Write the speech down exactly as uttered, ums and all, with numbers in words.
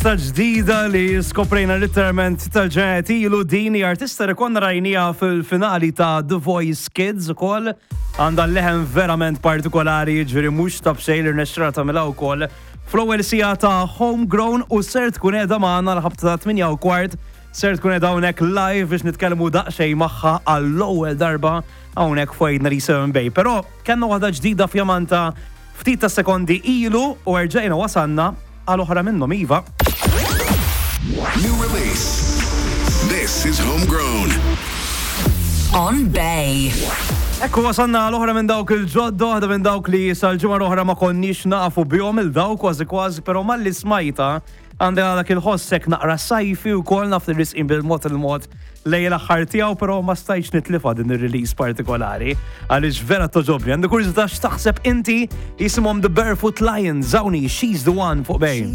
Artista ġdida li skoprejna literalment tal-ġenet ilu. Din hi artista li konna rajnieha fil-finali ta' The Voice Kids ukoll. Għandha leħen verament partikolari, ġifieri mhux ta' b'xejn li rnexxielha tagħmilha wkoll fl-ewwel siegħa ta' Homegrown, u ser tkun qiegħda magħna l-ħabta ta' tmienja u kwart. Ser tkun qiegħda hawnhekk live biex nitkellmu daqsxejn magħha għall-ewwel darba hawnhekk fuq ninety-seven Bay. Però kellna waħda ġdida fjamanta ftit ta' sekondi ilu u erġajna wasanna għal oħra minnhom, iva. New release. This is Homegrown. On Bay. Ekku wasanna għal oħra minn dawk il-ġodda, waħda minn dawk li sal-ġimgħa l-oħra ma konniex nafu bihom il-dawk kważi kważi, però malli smajta għandha dak il-ħossek naqra sajfi u kol naf li resqin bil-mod il-mod lejn l-aħħar tiegħu, però ma stajtx nitlifa din ir-release partikolari għaliex vera togħġobni. Għandi kurżità x'taħseb inti. Jisimhom The Barefoot Lions, hawn hi She's the One fuq Bay.